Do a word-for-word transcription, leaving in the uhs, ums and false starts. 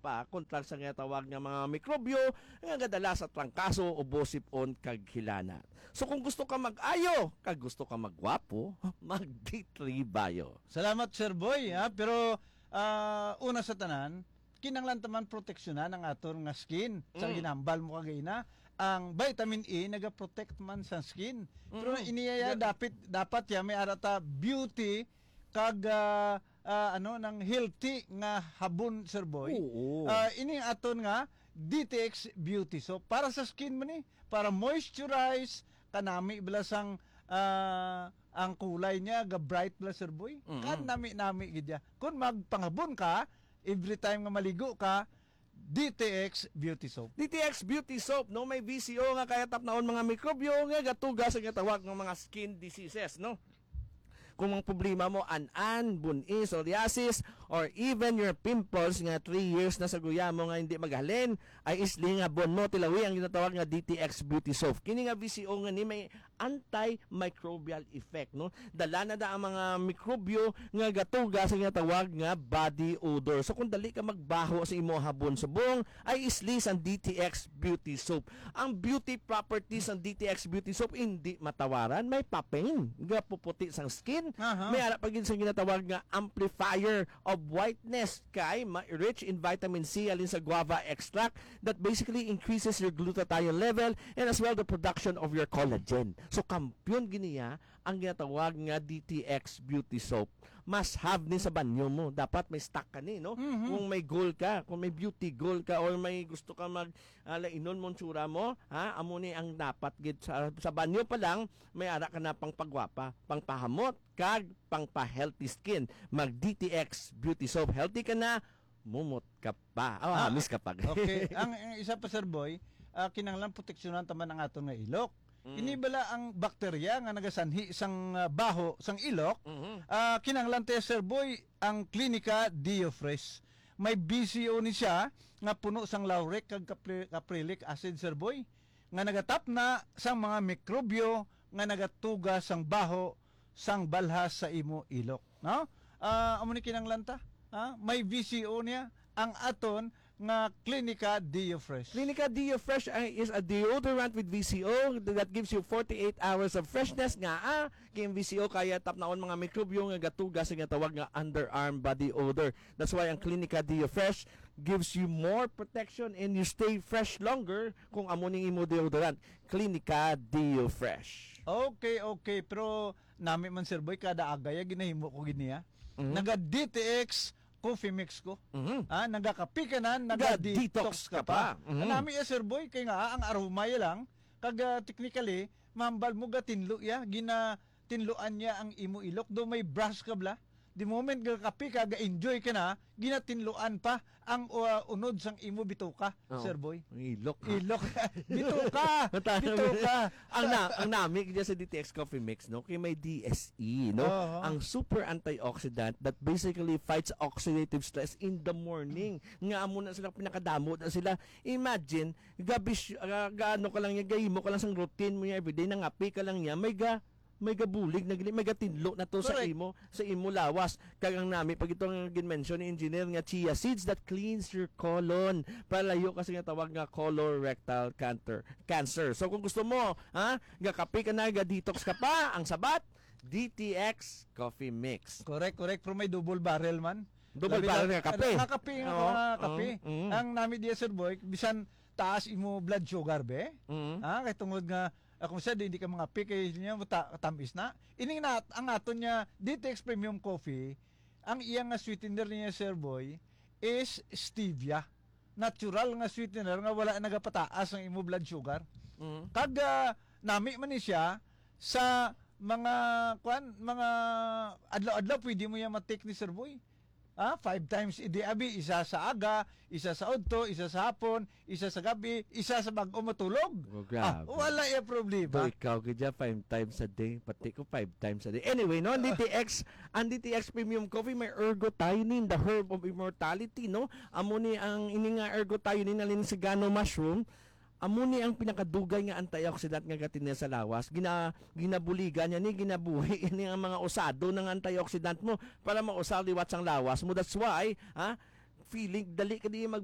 pa kontra sa ginatawag nga mga mikrobyo nga gadala sa trangkaso, ubo, sip-on, kag hilanat. So kung gusto ka mag-ayo, kag gusto ka magwapo, mag D three Bio. Salamat, Sir Boy, ha? Pero, ah, una sa tanan, kinahanglan ta man proteksyonan ang aton nga skin. Sa Mm. ginhambal mo kagina, ang vitamin E nagaprotect man sa skin. Pero Mm. iniya Ga- dapat, dapat ya may ara ta beauty kag, ah, ah, ano, nang healthy nga habon, Sir Boy. Oo. Ah, ini aton nga D T X Beauty Soap para sa skin man ni, para moisturize, kanami bala sang, ah, ang kulay niya ga bright bala, Sir Boy. Mm. Kanami-nami gid ya. Kung magpangabon ka, every time nga maligo ka, D T X Beauty Soap. D T X Beauty Soap, no? May V C O nga kaya tapnaon mga mikrobyo nga gatuga sa ginatawag nga mga skin diseases, no? Kung ang problema mo, an-an, bun-i, psoriasis, or even your pimples nga three years na sa guya mo nga hindi maghalin, ay isli nga bon mo, tilawi ang ginatawag nga D T X Beauty Soap. Kini nga V C O nga ni may antimicrobial effect, no? Dala na da ang mga mikrobyo nga gatuga sa ginatawag nga body odor. So kung dali ka magbaho sa imo habon subong, ay isli sang D T X Beauty Soap. Ang beauty properties sang D T X Beauty Soap hindi matawaran. May papain nga puputi sang skin. Aha. May ara pa gid sang ginatawag nga amplifier of whiteness kay ma-, rich in vitamin C halin sa guava extract that basically increases your glutathione level and as well the production of your collagen. So kampiyon gid niya ang ginatawag nga D T X Beauty Soap. Must have ni sa banyo mo. Dapat may stock ka ni, no? Mhm. Kung may goal ka, kung may beauty goal ka, or may gusto ka mag, ah, lainon mo ang tsura mo, ha? Amo ni ang dapat gid sa, sa banyo pa lang, may ara ka na pang pagwapa, pang pahamot, kag pang pa-healthy skin. Mag D T X Beauty Soap. Healthy ka na, mumot ka pa. Oh, Ah, hamis ka pa. Okay. Ang, ang isa pa, Sir Boy, ah, kinahanglan proteksyonan ta man ang aton nga ilok. Mm. Ini bala ang bakterya nga nagasanhi sang, ah, baho sang ilok, Mhm. ah, kinahanglan ta, Sir Boy, ang Clinica Diofresh. May V C O ni siya nga puno sang lauric kag capri-, caprylic acid, Sir Boy, nga nagatapna sang mga mikrobyo nga nagatuga sang baho sang balhas sa imo ilok, no? Ah, amo ni kinahanglan ta, ha? May V C O niya ang aton nga Clinica Diofresh. Clinica Diofresh ay is a deodorant with V C O that gives you forty-eight hours of freshness nga, ah, kay ang V C O kaya tapnaon mga mikrobyo nga gatuga sa ginatawag nga underarm body odor. That's why ang Clinica Diofresh gives you more protection and you stay fresh longer kung amo ning imo deodorant. Clinica Diofresh. Okay, okay. Pero nami man, Sir Boy, kada agay, ah, ginahimo ko gid niya. Mhm. Naga D T X coffee mix ko. Mhm. Ah, nagakape ka na, Ga-detox naga-detox ka ka pa. pa. Mhm. Nami ya, Sir Boy, kay nga, ah, ang aroma ya lang, kag, ah, technically, mahambal mo gatinlo ya, ginatinluan niya ang imo ilok. Do may brush ka bala. The moment gakape ka, ga-enjoy ka na, ginatinluan pa ang, uh, unod sang imo bituka, Oo. Sir Boy. Ang ilok, ha? Ilok. Bituka! Matalo Bituka! Ang na, ang nami gid sa D T X Coffee Mix, no? Kay may D S E, no? Oo. Ang super antioxidant that basically fights oxidative stress in the morning. Nga amo na sila, pinakadamo na sila. Imagine, gabi, ah, gaano ka lang niya, gahimo ka lang sang routine mo niya everyday, nangape ka lang niya, may ga, may gabulig na gini, may gatinlo na to sa Correct. imo, sa imo lawas. Kag ang nami, pag ito nga gin-mention ni Engineer nga chia seeds that cleans your colon. Palayo kasi nga tawag nga colorectal cancer. Cancer. So kung gusto mo, ha, gakape ka na, ga-detox ka pa, ang sabat, D T X Coffee Mix. Correct, correct. Pero may double barrel man. Double Labi barrel na, nga kape. Nga kape, nga Oo, mga kape. oo, oo. Ang nami diya, Sir Boy, bisan taas imo blood sugar, be? Mm. Ha? Kay tungod nga, ah, kung sa di, hindi ka mga kape, kay niya, mata-, tamis na. Ining na, ang aton niya, D T X Premium Coffee, ang iya nga sweetener niya, Sir Boy, is stevia. Natural nga sweetener nga wala nagapataas ang imo blood sugar. Mm. Kag, ah, nami man ni siya sa mga, kwan, mga adlaw-adlaw, pwede mo yan matik ni Sir Boy. Ah, five times a day, abi, isa sa aga, isa sa udto, isa sa hapon, isa sa gabi, isa sa bag-o matulog. Oh, Ah, grabe. wala ya problema. Do ikaw gid ya, five times a day, pati ko five times a day. Anyway, no, ang D T X, ang D T X Premium Coffee may ergothioneine, the herb of immortality, no? Amo ni ang ini nga ergothioneine, nalin sa gano mushroom. Amo ni ang pinakadugay nga antioxidant nga gatinil sa lawas. Gina-, ginabuligan niya ni, ginabuhi ni ang mga usado ng antioxidant mo para mausar liwat sang lawas mo. That's why, ha, feeling dali ka di mag